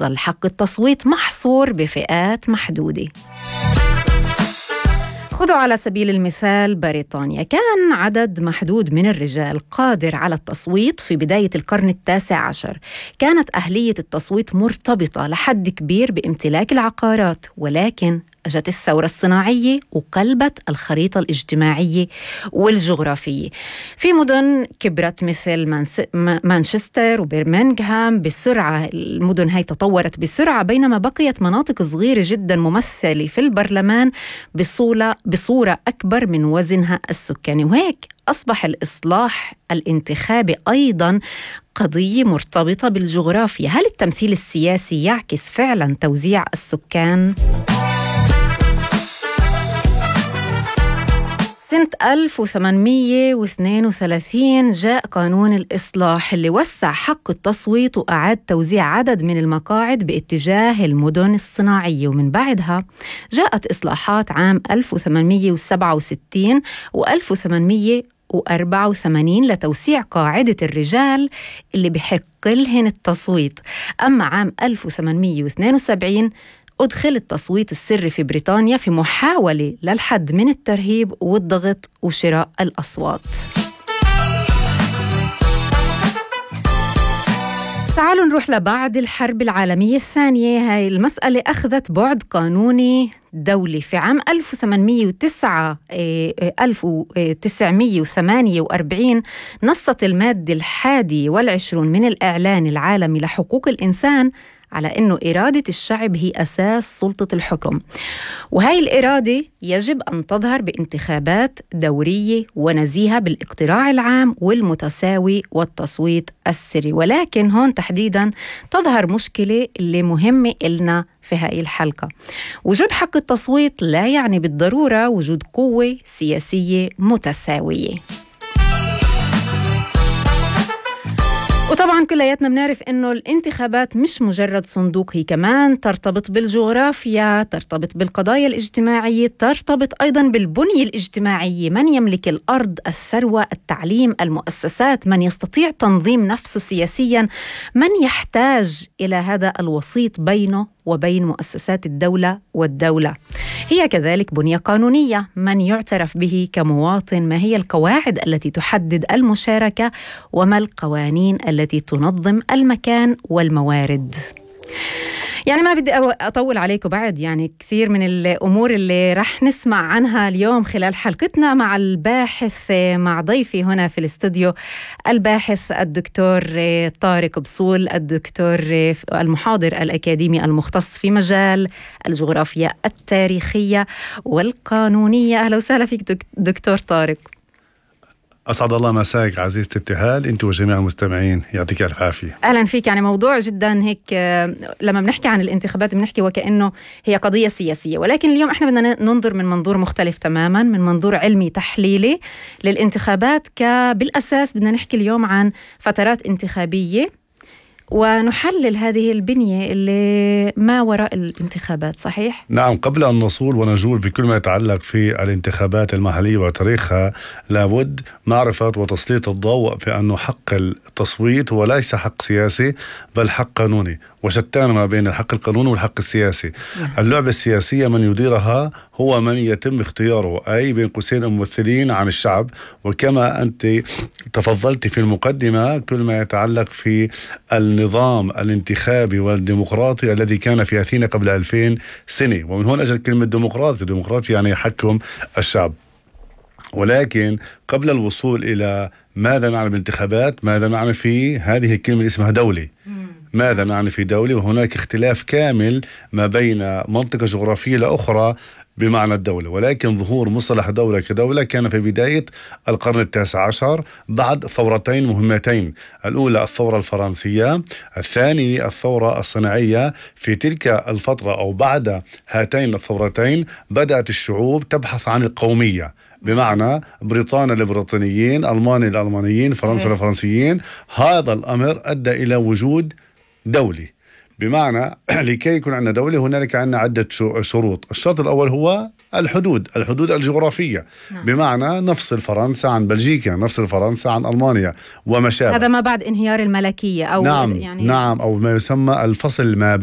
يضل حق التصويت محصور بفئات محدودة. خذوا على سبيل المثال بريطانيا، كان عدد محدود من الرجال قادر على التصويت في بداية القرن 19. كانت أهلية التصويت مرتبطة لحد كبير بامتلاك العقارات، ولكن أجت الثورة الصناعية وقلبت الخريطة الاجتماعية والجغرافية. في مدن كبرت مثل مانشستر وبرمنغهام بسرعة، المدن هاي تطورت بسرعة، بينما بقيت مناطق صغيرة جدا ممثلة في البرلمان بصورة أكبر من وزنها السكاني. وهيك أصبح الإصلاح الانتخابي أيضا قضية مرتبطة بالجغرافيا. هل التمثيل السياسي يعكس فعلا توزيع السكان؟ سنة 1832 جاء قانون الإصلاح اللي وسع حق التصويت وأعاد توزيع عدد من المقاعد باتجاه المدن الصناعية. ومن بعدها جاءت إصلاحات عام 1867 و1884 لتوسيع قاعدة الرجال اللي بحق لهن التصويت. أما عام 1872 أدخل التصويت السري في بريطانيا في محاولة للحد من الترهيب والضغط وشراء الأصوات. تعالوا نروح لبعد الحرب العالمية الثانية. هاي المسألة أخذت بعد قانوني دولي. في عام 1948 نصت المادة 21 من الإعلان العالمي لحقوق الإنسان على أنه إرادة الشعب هي أساس سلطة الحكم، وهي الإرادة يجب أن تظهر بانتخابات دورية ونزيهة بالاقتراع العام والمتساوي والتصويت السري. ولكن هون تحديدا تظهر مشكلة اللي مهمة إلنا في هاي الحلقة. وجود حق التصويت لا يعني بالضرورة وجود قوة سياسية متساوية. وطبعاً كلياتنا بنعرف إنه الانتخابات مش مجرد صندوق، هي كمان ترتبط بالجغرافيا، ترتبط بالقضايا الاجتماعية، ترتبط أيضاً بالبنية الاجتماعية. من يملك الأرض، الثروة، التعليم، المؤسسات، من يستطيع تنظيم نفسه سياسياً، من يحتاج إلى هذا الوسيط بينه وبين مؤسسات الدولة والدولة. هي كذلك بنية قانونية، من يعترف به كمواطن، ما هي القواعد التي تحدد المشاركة، وما القوانين التي تنظم المكان والموارد. يعني ما بدي أطول عليكم بعد، يعني كثير من الأمور اللي رح نسمع عنها اليوم خلال حلقتنا مع الباحث، مع ضيفي هنا في الاستوديو الباحث الدكتور طارق بصول، الدكتور المحاضر الأكاديمي المختص في مجال الجغرافيا التاريخية والقانونية. أهلا وسهلا فيك دكتور طارق. أسعد الله مساك عزيزتي ابتهال، أنت وجميع المستمعين، يعطيك ألف عافية. أهلا فيك. يعني موضوع جدا هيك، لما بنحكي عن الانتخابات بنحكي وكأنه هي قضية سياسية، ولكن اليوم احنا بدنا ننظر من منظور مختلف تماما، من منظور علمي تحليلي للانتخابات. بالأساس بدنا نحكي اليوم عن فترات انتخابية ونحلل هذه البنية اللي ما وراء الانتخابات. صحيح؟ نعم. قبل أن نصول ونجول بكل ما يتعلق في الانتخابات المحلية وتاريخها، لابد معرفة وتسليط الضوء بأنه حق التصويت هو ليس حق سياسي بل حق قانوني، وشتان ما بين الحق القانوني والحق السياسي. اللعبة السياسية من يديرها هو من يتم اختياره، أي بين قوسين الممثلين عن الشعب. وكما أنت تفضلت في المقدمة، كل ما يتعلق في النظام الانتخابي والديمقراطي الذي كان في أثينا قبل 2000 سنة، ومن هون أجل كلمة ديمقراطي. ديمقراطي يعني يحكم الشعب. ولكن قبل الوصول إلى ماذا نعني بالانتخابات، ماذا نعني في هذه الكلمة اسمها دولة. ماذا نعني في دولة؟ وهناك اختلاف كامل ما بين منطقة جغرافية لأخرى بمعنى الدولة. ولكن ظهور مصطلح دولة كدولة كان في بداية القرن 19 بعد ثورتين مهمتين، الأولى الثورة الفرنسية، الثانية الثورة الصناعية. في تلك الفترة أو بعد هاتين الثورتين بدأت الشعوب تبحث عن القومية، بمعنى بريطانيا للبريطانيين، ألمانيا للألمانيين، فرنسا للفرنسيين. هذا الأمر أدى إلى وجود دولة، بمعنى لكي يكون عندنا دولة هنالك عندنا عدة شروط. الشرط الأول هو الحدود الجغرافية. بمعنى نفصل فرنسا عن بلجيكا، نفصل فرنسا عن ألمانيا وما شابه. هذا ما بعد انهيار الملكية أو نعم، أو ما يسمى الفصل ما